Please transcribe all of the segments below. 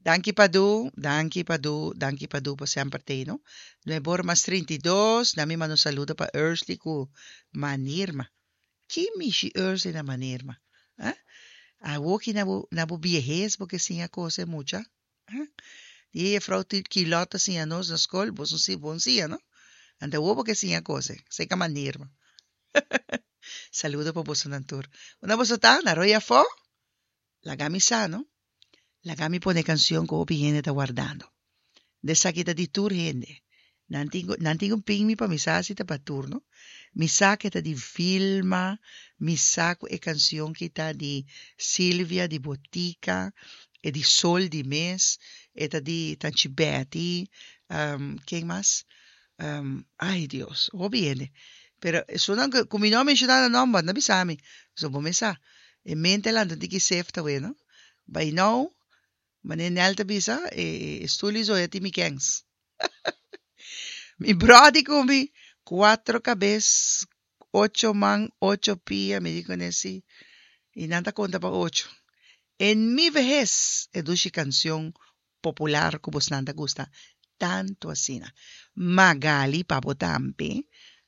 Danki Padu, danki Padu, danki Padu pa semper t'ei no. Nuebor mas 32, na mi manda un saludo pa Ursley ku Manirma. Ki mishi Ursley na Manirma? Ah? Awoki na bo na bo biehes bo ke siña kose mucha? Ah? Di e jefrouw Kilot ta siña nos na skol, bo si bon siña no? Anto awo bo ke siña kose, seka Manirma. Saludo pa bosonan tur. Unda boso ta? Na Rooi Afó? Laga mi sa no. Laga mi pone kansion ku hopi hende ta wardando. Esaki ta di tur hende. Nan tin ku nan tin ku pin mi pa mi sa si ta pa tur no. Mi sa ku e ta di Vilma, mi sa ku e kansion ki ta di Silvia di Botica, e di Sol di mes, e ta di Tanchi Betty, ken mas? Ay Dios, hopi hende. Pero esunnan ku mi no a menshoná nan nòmber no bisa mi, pasobra bo mes sa, e mente a lanta un tiki sefta wei no. By now, manera Nel ta bisa, e stoel i zoya tin mi kens. Mi bròdi ku mi, kuatro kabes, ocho man, ocho pia, mi di kuné si, i nan ta konta pa ocho. En mi vehes, e dushi kanshon popular ku bosnan ta gusta tantu asina. Magali pa bo tambe.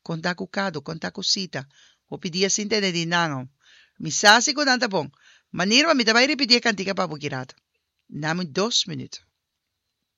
Konta ku Kado, konta ku Sita. Hopi dia sin tende di nan. Mi sa si ku nan ta bon. Manirma, mi ta bai ripití e kantika pa bo ki rato. Dami dos minuut.